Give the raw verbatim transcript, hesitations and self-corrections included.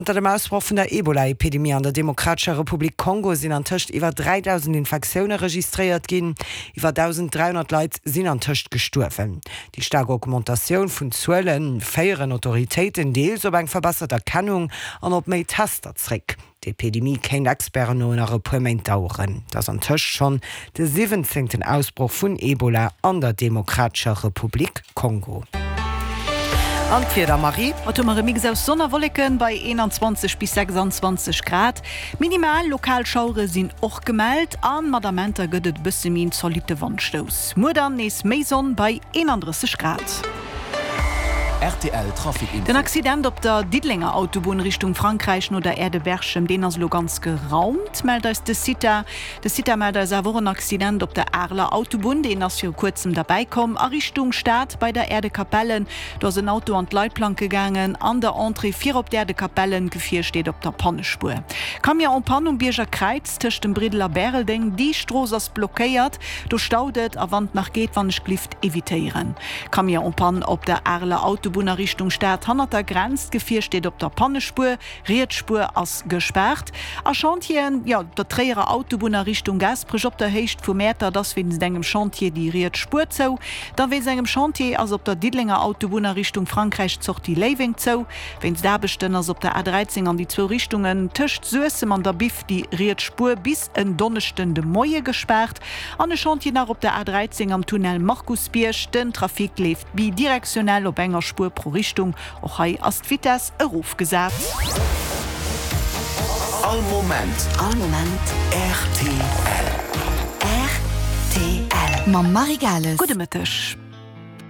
Zanter dem Ausbroch vun der Ebola-Epidemie an der Demokratescher Republik Kongo sinn antëscht iwwer dräidausend Infektioune registréiert ginn. Iwwer dausend dräihonnert Leit sinn antëscht gestuerwen. Déi staark Augmentatioun vun Zuele féieren Autoritéiten deels op eng verbessert Erkennung an op méi Tester zréck. D'Epidemie kéint Experten no nach e puer Méint daueren. Et ass antëscht schonn de siwwenzéngten Ausbroch vun Ebola an der Demokratescher Republik Kongo. An d'Wieder, Marie? Haut hu mer e Mix aus Sonn a Wolleken bei eenanzwanzeg bis sechsanzwanzeg Grad. Minimal lokal Schauere sinn och gemellt a mat Amenter gëtt et e bësse méi en zolitte Wandstouss. Muer dann nees méi Sonn bei eenandrësseg Grad. Rtl Trafic Den Info. Accident op der Diddelenger Autobunn Richtung Frankräich no der Aire de Berchem, deen ass elo ganz geraumt, mellt eis de CITA. De CITA mellt eis awer och en Accident op der Areler Autobunn, deen ass viru kuerzem derbäi komm a Richtung Stad bei der Aire de Capellen. Do ass en Auto an d'Leitplanke gaangen an der Entrée fir op d'Aire de Capellen. D'Gefier steet op der Pannespuer. Camion en panne um Bierger Kräiz tëscht dem Briddel a Bäreldeng. Déi Strooss ass blockéiert, do staut et a wann et nach geet, wann ech glift evitéieren. Camion en panne op der Areler Autobunn a Richtung Stad hannert der Grenz. D'Gefier steet op der Pannespuer, riets Spuer ass gespaart. A Chantieren, jo, op der Tréierer Autobunn a Richtung Gaasperech op der Héicht vu Mäertert ass wéinst engem Chantier déi riets Spuer zou. Da wéinst engem Chantier ass op der Diddelenger Autobunn a Richtung Frankräich d'Sortie Léiweng zou. Wéinst Aarbechten ass op der A dräizéng an déi zwou Richtungen tëscht Suessem an der Biff déi riets Spuer bis en Donneschden de Moie gespaart. An e Chantier nach op der A dräizéng am Tunnel Markusbierg. Den Trafic leeft bidirektionell op enger Spuer pro Richtung. Och hei ass d'Vitess erofgesat. All Moment. All Moment. Rtl. Rtl. Mam Marie Gales. Gudde Mëtteg.